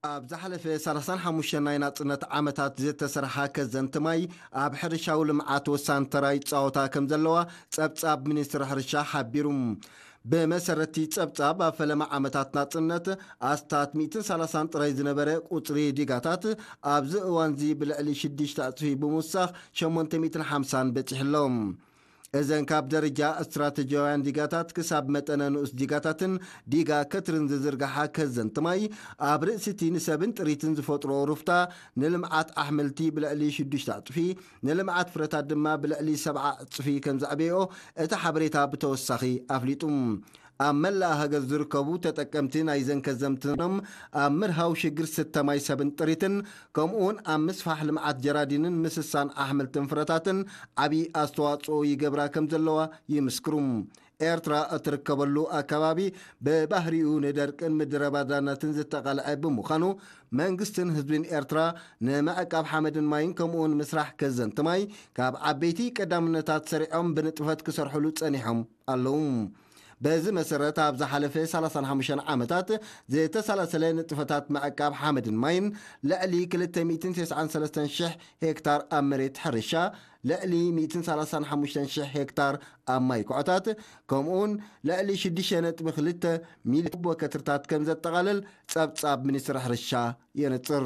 ኣብ ዝሓለፈ ሰላሳን ሓሙሽተን ናይ ናጽነት ዓመታት ዝተሰርሓ ከዘንቲ ማይ ኣብ ሕርሻዊ ልምዓት ወሳኒ ተራ ይጻወታ ከም ዘለዋ ጸብጻብ ሚኒስትሪ ሕርሻ ሓቢሩ። ብመሰረቲ ጸብጻብ ኣብ ፈለማ ዓመታት ናጽነት ኣስታት ሚእትን ሰላሳን ጥራይ ዝነበረ ቁጽሪ ዲጋታት ኣብዚ እዋንዚ ብልዕሊ ሽዱሽተ ዕጽፊ ብምውሳኽ ሸሞንተ ሚእትን ሓምሳን በጺሑ ኣሎ። እዘን ካብ ደረጃ ስትራተጂያውያን ዲጋታት ክሳብ መጠነ ንኡስ ዲጋታትን ዲጋ ከትርን ዝዝርግሓ ከዘንቲ ማይ ኣብ ርእሲቲ ንሰብን ጥሪትን ዝፈጥሮ ሩፍታ ንልምዓት ኣሕምልቲ ብልዕሊ ሽዱሽተ ዕጽፊ ንልምዓት ፍረታት ድማ ብልዕሊ ሰብዓ ዕጽፊ ከም ዘዕበዮ እቲ ሓበሬታ ብተወሳኺ ኣፍሊጡ። ኣብ መላእ ሃገር ዝርከቡ ተጠቀምቲ ናይ ዘንከዘምትኖም ኣብ ምርሃው ሽግር ስተ ማይ ሰብን ጥሪትን ከምኡውን ኣብ ምስፋሕ ልምዓት ጀራዲንን ምስሳን ኣሕምልትን ፍረታትን ዓብዪ ኣስተዋፅኦ ይገብራ ከም ዘለዋ ይምስክሩ። ኤርትራ እትርከበሉ ኣከባቢ ብባህሪኡ ንደርቅን ምድረ ባዳነትን ዝተቐልዐ ብምዃኑ መንግስትን ህዝብን ኤርትራ ንምዕቃብ ሓመድን ማይን ከምኡውን ምስራሕ ከዘንቲ ማይ ካብ ዓበይቲ ቀዳምነታት ሰሪዖም ብንጥፈት ክሰርሕሉ ጸኒሖም ኣለዉ። በዚ መሰረት ኣብ ዝሓለፈ ሰላሳን ሓሙሽተን ዓመታት ዝተሰላሰለ ንጥፈታት ምዕቃብ ሓመድን ማይን ልዕሊ ክልተ ሚእትን ተስዓን ሰለስተን ሽሕ ሄክታር ኣብ መሬት ሕርሻ ልዕሊ ሚእትን ሰላሳን ሓሙሽተን ሽሕ ሄክታር ኣብ ማይ ኩዕታት ከምኡውን ልዕሊ ሽዱሽተ ነጥቢ ክልተ ሚልዮን ወከትርታት ከም ዘጠቓልል ጸብጻብ ሚኒስትሪ ሕርሻ የንጽር።